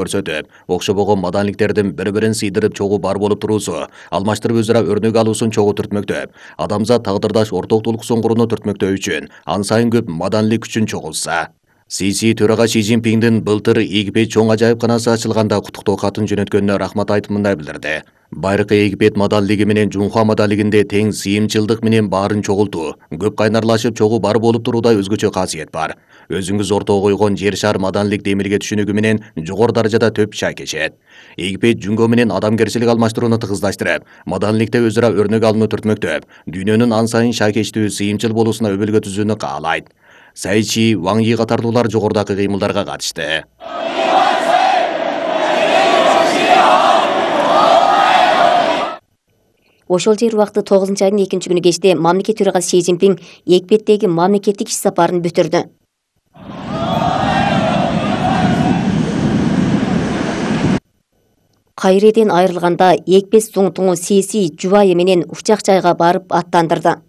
көрсөтүп, окшобогон маданиликтердин бири-бирин сыйдырып чогуу бар болуп туруусу, алмаштырып өзара өрнөк алуусун чогуу түртмөктөп, адамзат тагдырдаш ортоктулук соңгуруну түртмөктөө үчүн ан сайын көп маданилик күчүн чогултса. Сиси төрага Си Цзиньпиндин былтыр Египет чоң ажайыпканасы ачылганда куттуктоо катын жөнөткөнүнө рахмат айтып мындай билдирди. Байыркы Египет маданилиги менен Жунхуа маданилигинде тең сыйымчылдык менен баарын чогултуу, көп кайнарлашып чогуу бар болуп туруудай өзгөчө касиет бар. Өзүңүз ортого койгон жер шар маданилик демирге түшүнүгү менен жогору даражада төп шай кечет. Египет жүнгө менен адамгерчилик алмаштырууну тыгыздаштырып, маданиликте өзара өрнөк алууну түртмөктөп, дүйнөнүн ан сайын шайкечтүү, сыйымчыл болуусуна өбөлгө түзүүнү каалайт. Цай Чи, Ваң Йи катардуулар жогорудагы кыймылдарга катышты. Ошол жер убакыты 9 айдын 2-күнү кечте мамлекет төрагасы Си Цзиньпин Египеттеги мамлекеттик иш сапарын бүтүрдү. Кайреден айрылганда Египет зуңтуңу Сиси жубайы менен учак жайга барып аттандырды.